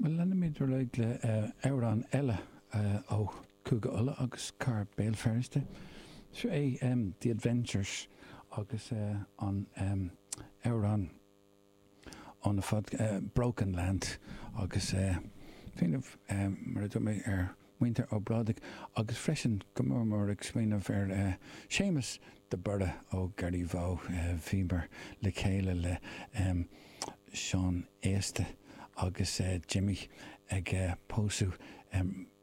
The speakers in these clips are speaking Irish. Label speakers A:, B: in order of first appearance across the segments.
A: Bhuel, leanfaimid ar aghaidh le amhrán eile ó Chúige Uladh agus cathair Béal Feirste. Seo é The Adventures agus an amhrán óna fad Broken Land agus smaoineamh, mar a dúirt mé, ar mhuintir Ó Brádaigh agus freisin go mór mór ag smaoineamh ar Séamus de Barra ó Garryvoe. Bhíomar le chéile le Seán Aosta agus Jimmy ag pósadh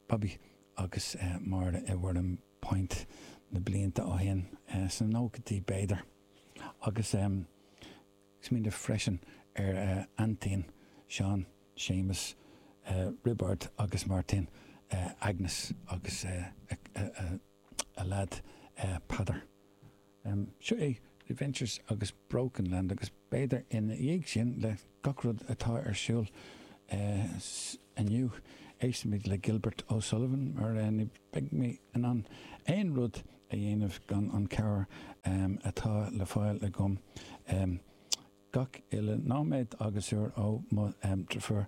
A: Bobby agus Máire i Warrenpoint na blianta ó shin, sna nóchaidí b'fhéidir, agus ag smaoineamh freisin ar aintín Seán, Séamus, Roibeárd agus Máirtín, Agnes agus a leaid Peadar. Seo é The Adventures agus Broken Land agus b'fhéidir ina dhiaidh sin, le gach rud atá ar siúl inniu, éistfimid le Gilbert O'Sullivan mar ní bheidh mé in ann aon rud a dhéanamh gan an cabhair atá le fáil agam gach uile nóiméad agus uair ó mo dheirfiúr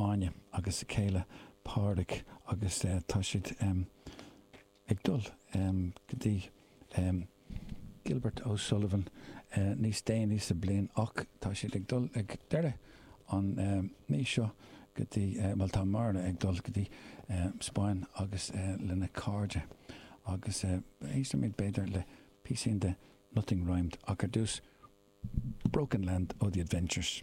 A: Áine agus a céile Pádraig agus tá siad ag dul go dtí Gilbert O'Sullivan níos déanaí sa bliain ach tá siad ag dul ag deireadh an mí seo go dtí, bhuel tá Máire ag dul go dtí Spáinn agus lena cairde agus éistfimid b'fhéidir le píosín de Nothing Rhymed ach ar dtús Broken Land ó The Adventures.